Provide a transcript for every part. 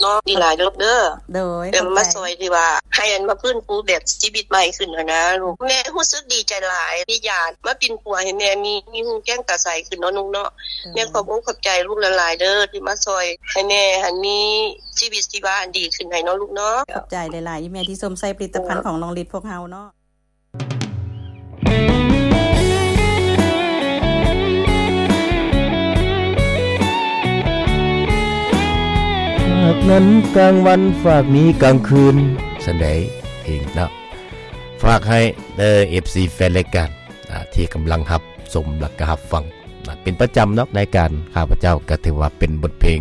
ເນາະ ດີຫຼາຍລູກເດີ. ໂດຍ ແບບ ຂອບໃຈ ມາຊ່ອຍທີ່ວ່າໃຫ້ອັນມາຟື້ນຟູແບບຊີວິດໃໝ່ຂຶ້ນຫັ້ນນະລູກ. ແມ່ຮູ້ສຶກດີໃຈຫຼາຍ ທີ່ຢາດມາປິ່ນປົວໃຫ້ແມ່ມີ ມີຮູ້ແຈ້ງຕາໃສຂຶ້ນເນາະລູກເນາະ. ໂດຍ ແມ່ຂອບອົກຂອບໃຈລູກຫຼາຍໆເດີ ທີ່ມາຊ່ອຍໃຫ້ແມ່ຫັ້ນມີຊີວິດຊີວາອັນດີຂຶ້ນໃຫ້ເນາະລູກເນາະ. ຂອບໃຈຫຼາຍໆອີ່ແມ່ທີ່ຊົມໃຊ້ຜະລິດຕະພັນ ໂດຍ ຂອງນ້ອງລິດພວກເຮົາເນາະ. ຝາກນັ້ນກາງວັນ ຝາກນີ້ກາງຄືນ ຊັ້ນໃດເອງເນາະ. ຝາກໃຫ້ເດີ ເອັຟຊີ ແຟນລາຍການ ອາ ທີ່ກຳລັງຮັບຊົມ ແລະກະຮັບຟັງນະ ເປັນປະຈຳເນາະ. ລາຍການຂ້າພະເຈົ້າກະຖືວ່າເປັນບົດເພງ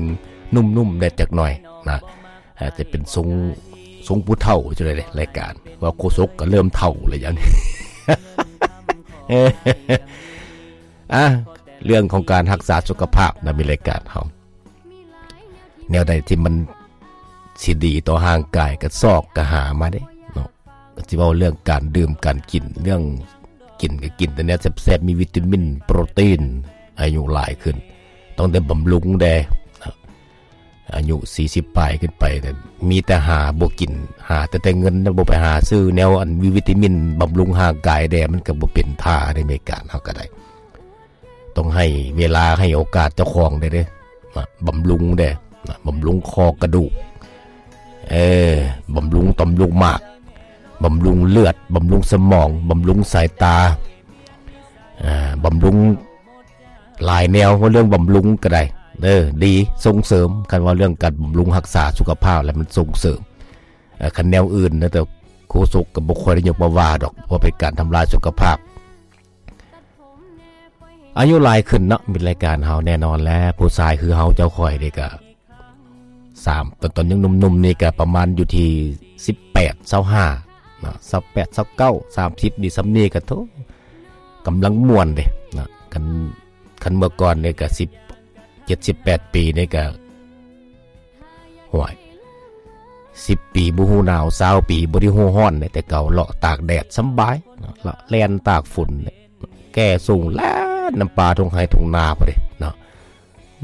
ນຸ້ມໆແດ່ຈັກໜ່ອຍນະ. ອາດຈະເປັນຊົງ ຊົງຜູ້ເຖົ້າຈັ່ງໃດເດ ລາຍການ ເວົ້າໂຄສົກກໍເລີ່ມເຖົ້າແລ້ວຢ່າງນີ້. ອາ ເລື່ອງຂອງການຮັກສາສຸຂະພາບນະ ມີລາຍການເຮົາ ແນວໃດທີ່ມັນຊິດີຕໍ່ຮ່າງກາຍ ກໍຊອກກໍຫາມາເດ້ເນາະ. ກໍຊິເວົ້າເລື່ອງການດື່ມການກິນ ເລື່ອງກິນກໍກິນແຕ່ແນວແຊບໆ ມີວິຕາມິນ ໂປຣຕີນ. ອາຍຸຫຼາຍຂຶ້ນ ຕ້ອງໄດ້ບຳລຸງແດ່ນະ. ອາຍຸສີ່ສິບປາຍຂຶ້ນໄປ ມີແຕ່ຫາບໍ່ກິນ ຫາແຕ່ ແຕ່ເງິນ ບໍ່ໄປຫາຊື້ແນວອັນມີວິຕາມິນບຳລຸງຮ່າງກາຍແດ່ ມັນກໍບໍ່ເປັນທ່າໃນອາເມລິກາເຮົາກໍໄດ້. ຕ້ອງໃຫ້ເວລາໃຫ້ໂອກາດເຈົ້າຂອງແດ່ເດ້ ນະ ບຳລຸງແດ່ນະ ບຳລຸງຂໍ້ກະດູກ ເອີ ບຳລຸງຕ່ອມລູກໝາກ ບຳລຸງເລືອດ ບຳລຸງສະໝອງ ບຳລຸງສາຍຕາ ອາ ບຳລຸງ ຫຼາຍແນວ. ເວົ້າເລື່ອງບຳລຸງກໍໄດ້ເດີ ດີ ສົ່ງເສີມ. ຄັນວ່າເລື່ອງການບຳລຸງຮັກສາສຸຂະພາບແລ້ວ ມັນສົ່ງເສີມ. ເອີ ຄັນແນວອື່ນນະ ແຕ່ໂຄສົກກໍບໍ່ຄ່ອຍໄດ້ຍົກມາວ່າດອກ ເພາະເປັນການທຳລາຍສຸຂະພາບ. ອາຍຸຫຼາຍຂຶ້ນເນາະ ມິດລາຍການເຮົາ ແນ່ນອນແລ້ວ ຜູ້ຊາຍຄືເຮົາເຈົ້າຂ້ອຍນີ້ກໍ ສາມ ຕອນ ຕອນຍັງໜຸ່ມໆນີ້ກໍປະມານຢູ່ທີ່ສິບແປດ ຊາວຫ້າເນາະ ຊາວແປດ ຊາວເກົ້າ ສາມສິບ ນີ້ ສ່ຳນີ້ກໍໂທ້ ກຳລັງມ່ວນເດ້ເນາະ. ຄັນ ຄັນເມື່ອກ່ອນນີ້ກໍສິບເຈັດ ສິບແປດປີນີ້ກໍ ຫ້ວຍ ສິບປີບໍ່ຮູ້ໜາວ ຊາວປີບໍ່ໄດ້ຮູ້ຮ້ອນເດ້. ແຕ່ເກົ່າເລາະຕາກແດດສຳບາຍເນາະ ເລາະແລ່ນຕາກຝົນເດ້ ແກ່ສົ່ງແລ່ນນຳປ່າທົ່ງໄຮ່ທົ່ງນາພຸ້ນເດ້ເນາະ.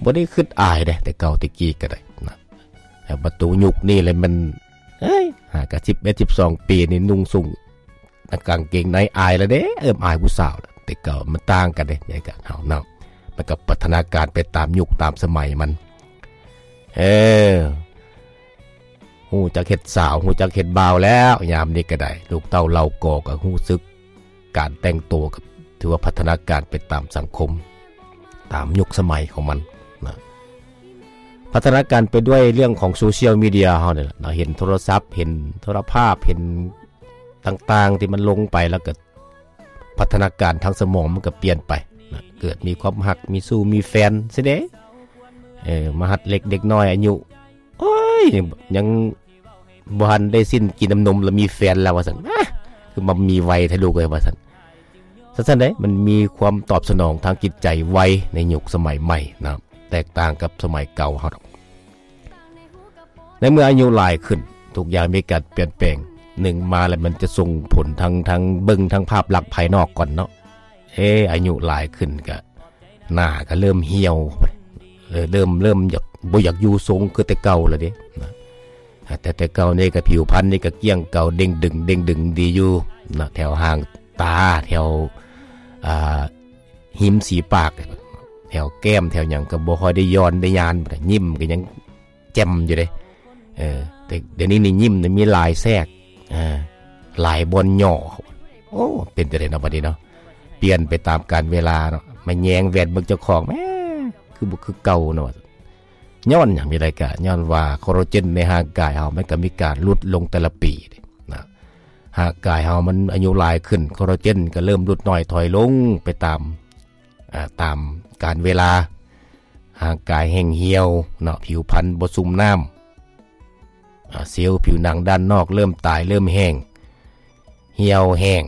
ບໍ່ໄດ້ຄິດອາຍເດ້ ແຕ່ເກົ່າແຕ່ກີ້ກໍໄດ້ນະ. ແຕ່ມາໂຕຍຸກນີ້ແຫຼະມັນ ເອີຍ ຫາກະສິບເອັດ ສິບສອງປີນີ້ນຸ່ງສູງ ກາງເກງໃນອາຍແລ້ວເດ້ ເອີ້ມອາຍຜູ້ສາວແລ້ວ. ແຕ່ເກົ່າມັນຕ່າງກັນເດ້ ໃນການເຮົາເນາະ ມັນກໍພັດທະນາການໄປຕາມຍຸກຕາມສະໄໝມັນ. ເອີ ຮູ້ຈັກເຮັດສາວ ຮູ້ຈັກເຮັດບ່າວແລ້ວ ຍາມນີ້ກໍໄດ້ ລູກເຕົ້າເຫຼົ່າກໍ ກໍຮູ້ສຶກ ການແຕ່ງໂຕກໍຖືວ່າພັດທະນາການໄປຕາມສັງຄົມ ຕາມຍຸກສະໄໝຂອງມັນນະ. ພັດທະນາການໄປດ້ວຍເລື່ອງຂອງໂຊຊຽວມີເດຍເຮົານີ້ແຫຼະເນາະ ເຫັນໂທລະສັບ ເຫັນໂທລະພາບ ເຫັນຕ່າງໆທີ່ມັນລົງໄປ ແລ້ວກໍພັດທະນາການທາງສະໝອງມັນກໍປ່ຽນໄປນະ. ເກີດມີຄວາມຮັກ ມີຊູ້ມີແຟນຊິເດ້ ເອີ ມາຫັດເລັກເດັກນ້ອຍອາຍຸ ໂອ້ຍ ຍັງ ບໍ່ທັນໄດ້ສິ້ນກິນນ້ຳນົມ ແລ້ວມີແຟນແລ້ວວ່າຊັ້ນ ອາ ຄືມາມີໄວແທ້ລູກເອີຍວ່າຊັ້ນ. ຊັ້ນໆເດ້ ມັນມີຄວາມຕອບສະໜອງທາງຈິດໃຈໄວໃນຍຸກສະໄໝໃໝ່ນະ ແຕກຕ່າງກັບສະໄໝເກົ່າເຮົາດອກ. ໃນເມື່ອອາຍຸຫຼາຍຂຶ້ນ ທຸກຢ່າງມີການປ່ຽນແປງ. ໜຶ່ງມາແລ້ວມັນຈະສົ່ງຜົນທາງ ທາງເບິ່ງທາງພາບລັກພາຍນອກກ່ອນເນາະ. ເອ ອາຍຸຫຼາຍຂຶ້ນກະ ໜ້າກໍເລີ່ມຫ່ຽວ ເລີ່ມ ເລີ່ມຢາກ ບໍ່ຢາກຢູ່ຊົງຄືແຕ່ເກົ່າແລ້ວເດ້ນະ. ແຕ່ ແຕ່ເກົ່ານີ້ກໍຜິວພັນນີ້ກໍກ້ຽງເກົ່າ ເດັ່ງດຶງ ເດັ່ງດຶງດີຢູ່ນະ ແຖວຫາງຕາ ແຖວ ອ່າ ຮິມສີປາກ ແຖວແກ້ມ ແຖວຫຍັງກໍບໍ່ຄ່ອຍໄດ້ຍ້ອນໄດ້ຍານ ຍິ້ມກໍຍັງ ແຈ່ມຢູ່ເດ້. ເອີ ແຕ່ດຽວນີ້ນີ້ຍິ້ມນີ້ມີຫຼາຍແຊກ ເອີ ຫຼາຍບ່ອນຫຍໍ້. ໂອ້ ເປັນຈັ່ງໃດເນາະບັດນີ້ເນາະ ປ່ຽນໄປຕາມການເວລາເນາະ. ມາແຍງແວ່ນເບິ່ງເຈົ້າຂອງ ແໝ ຄືບໍ່ຄືເກົ່າເນາະ. ຍ້ອນຫຍັງ? ມີໄດ້ກະຍ້ອນວ່າຄໍລາເຈນໃນຮ່າງກາຍເຮົາມັນກໍມີການຫຼຸດລົງແຕ່ລະປີເດ້ນະ. ຮ່າງກາຍເຮົາມັນອາຍຸຫຼາຍຂຶ້ນ ຄໍລາເຈນກໍເລີ່ມຫຼຸດນ້ອຍຖອຍລົງໄປຕາມ ອ່າ ຕາມການເວລາ. ຮ່າງກາຍແຫ້ງຫ່ຽວເນາະ ຜິວພັນບໍ່ຊຸ່ມນ້ຳ ອ່າ ເຊວຜິວໜັງດ້ານນອກເລີ່ມຕາຍ ເລີ່ມແຫ້ງ ຫ່ຽວແຫ້ງ.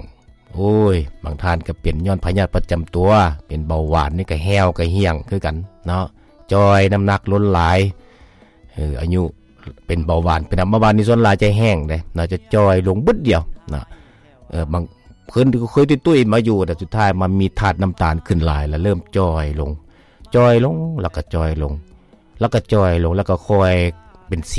ໂອ້ຍ ບາງທ່ານກໍເປັນຍ້ອນພະຍາດປະຈຳຕົວ ເປັນເບົາຫວານນີ້ກໍແຫ້ວກໍຫ່ຽງຄືກັນເນາະ ຈ່ອຍ ນ້ຳໜັກລົ້ນຫຼາຍ. ເອີ ອາຍຸ ເປັນເບົາຫວານ ເປັນນຳເບົາຫວານນີ້ສ່ວນຫຼາຍຈະແຫ້ງເດ້ເນາະ ຈະຈ່ອຍລົງບຶດດຽວເນາະ. ເອີ ບາງຄົນກໍເຄີຍຕຸ້ຍໆມາຢູ່ ແຕ່ສຸດທ້າຍມາມີທາດນ້ຳຕານຂຶ້ນຫຼາຍ ແລ້ວເລີ່ມຈ່ອຍລົງ ຈ່ອຍລົງ ແລ້ວກໍຈ່ອຍລົງ ແລ້ວກໍຈ່ອຍລົງ ແລ້ວກໍຄ່ອຍເປັນສີ